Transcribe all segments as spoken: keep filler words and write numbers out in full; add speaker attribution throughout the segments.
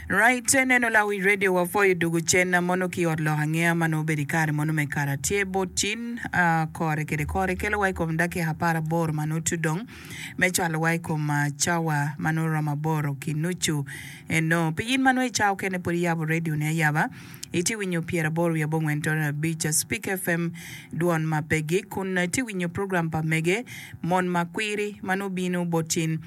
Speaker 1: Right, neno lawi radio wapwoyo dugu cen mono ki ot lok angeya ma nongo obedo i kare mono me kare tye bot cin kore kede kore kelo wa i kom dakika apar aboro ma nongo tudong me cwalo wa i kom cawa ma nongo romo aboro ki nucu eno. Pi in ma nongo i cawa okene pud iyabo radio ni ayaba, itye winyo pyeraboro wiye abongwen tone abic Speak FM dwon ma pe gik kun itye winyo program pa mege mon ma kwiri ma nongo bino bot cin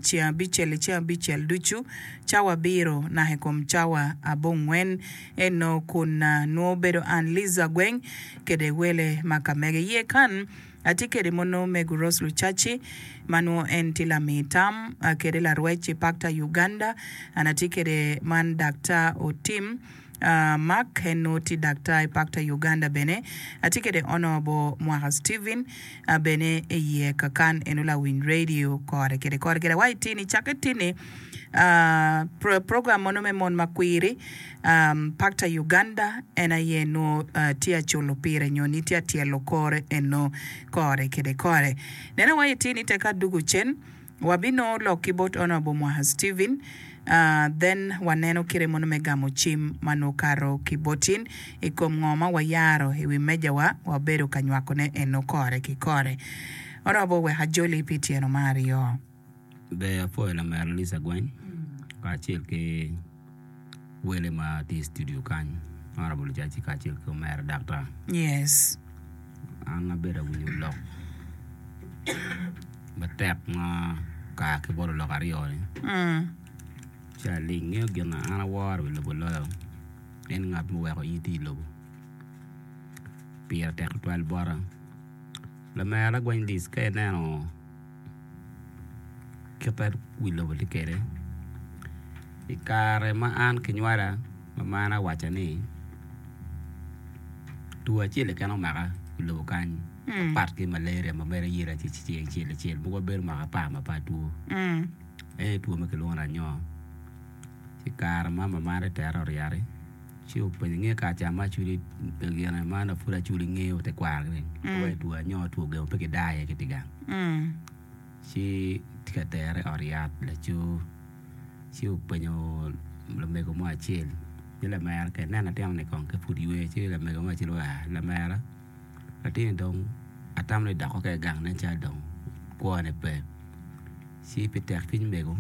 Speaker 1: ceng abicel i ceng abicel ducu, cawa abiro naka i kom cawa abongwen. Eno kun nwo bedo an Liza Gweng kede wele ma ka mege. Iye kan atye kede mono mego Rose Lucaci ma nwo en tye lami tam kede larwec i Pakta Uganda. An atye kede man Daktar Otim Mark en nwo tye daktar i Pakta Uganda bene. Atye kede Honourable Mwaka Steven bene iye kakan eno lawiny radio kore kede kore kede wa itini cakke tini program mono me mon ma kwiri Pakta Uganda en aye nwo tye aculo pire nyo ni tye atyelo kore eno kore kede kore. Nene wa itini teka adugu cen Wabinongo lok ki bot Honourable Mwaha Steven, then waneno kite mono me gamo cim ma nongo kato ki botin i kom ngo ma wayaro i wi meja wa, wabedo ka nywako ne eno kore ki kore. Honourable wek ajoli pi tyeno ma aryo.
Speaker 2: Ber apwoyo lamera Lisa Gweng kacel ki wele ma tye i studio kany, Honourable Lucaci kacel ki omera Daktar.
Speaker 1: Yes.
Speaker 2: An abedo awinyo lok matek ma oka ki bot olok aryo-ni, ci aling. Ngeyo gin ma an aworo i wi lobo loyo en ngat muweko in itye i lobo. Pire tek tutwal bota. Lamera Gweny Liz ka ineno kit ma wi lobo tye kwede, i kare ma an kinywala mamana owacca ni two acel keken omaka i lobo kany mapat ki malaria ma mere yela ceng acel acel mogo bedo mwaka apar ma pe atwo en aye two ma kilwongo ni anyo ci kare ma mamana tera oryati ci openyo nge kare ca ma acwali gine ma pud acwali ngeyo tekwaro ni two anyo two gemo pe kidaa iye ki tye gang ci tye ka tere i ot yat laco ci openyo lamego mo acel ni lamera ka ineno latin-ni kong ka pud ywe ci lamego mo acel oa lamera latin-ni dong atamo ni doko kede gang nen calo dong kwone pe ci pi tek cwiny mego